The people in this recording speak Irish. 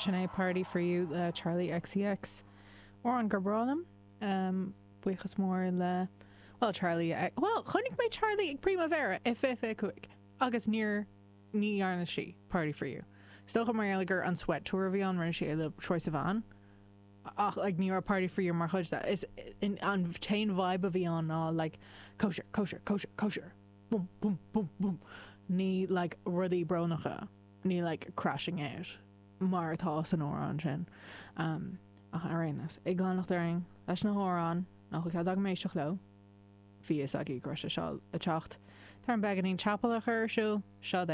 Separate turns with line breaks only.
Sin é Party For You le Charli XCX. Amhrán gur breá liom. Buíochas mór le, bhuel, Charli, bhuel, chonaic mé Charli ag Primavera i 2025 agus níor, ní dhearna sí Party For You. Is dócha mar gheall gur an Sweat Tour a bhí ann, rinne sí é le Troye Sivan. Ach like ní raibh Party For You mar chuid de. Is an t-aon vibe a bhí ann ná like cóisir, cóisir, cóisir, cóisir. Bum, bum, bum, bum. Ní like rudaí brónacha. Ní like crashing out mar atá san amhrán sin. Ach ar aon nós, ag leanacht orainn leis na hamhráin nach bhfuil cead agam éisteacht leo, bhí fhios agaibh go raibh sé seo le teacht. Tá orm beagáinín ceapála a chur ar siúl, seo é.